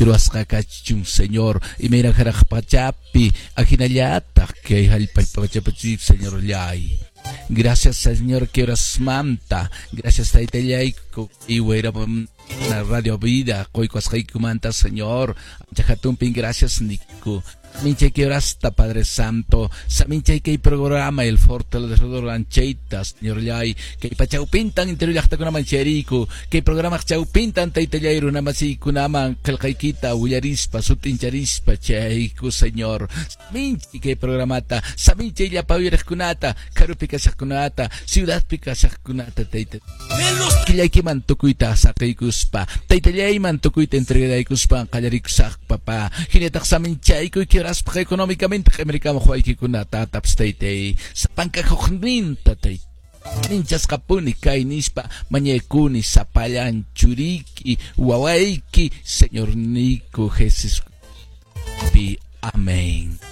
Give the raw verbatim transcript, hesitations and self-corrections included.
Munayki ruwasqa kachun, Señor, imayna hanaq pachapi ahinallataq kay hallp'a pachapi, Señorllay. Gracias, Señor, que horasmanta. Gracias, taytallayku y Radio Vida qoykuwasqaykumanta, Señor. Ancha gracias niku. Minchay que horasta, Padre Santo. Saminchay kay programa El Fortalecedor Ancheita, Señorllay. Kay pachawpintan interior llaqtakunaman chayariku. Kay programa chawpintan taytallay runamasiykunaman qillqaykita willarispa sut'incharispa chayku, Señor. Minchay kay programata. Saminchay llapa uyariqkunata, karupi kashaqkunata, ciudadpi kashaqkunata, tayta. Killaykiman tukuyta saqiykuspa, taytallayman tukuyta entregaykuspa qallarikusaq, papá. Hinataq saminchayku kieraspaq económicamente q'imirikamuq waykikunata tapas taytay. Sapanka hukninta tayta. Ninchasqapuni kay nispa mañaykuni sapallan churiki wawayki Señor Nico Jesús. Amén.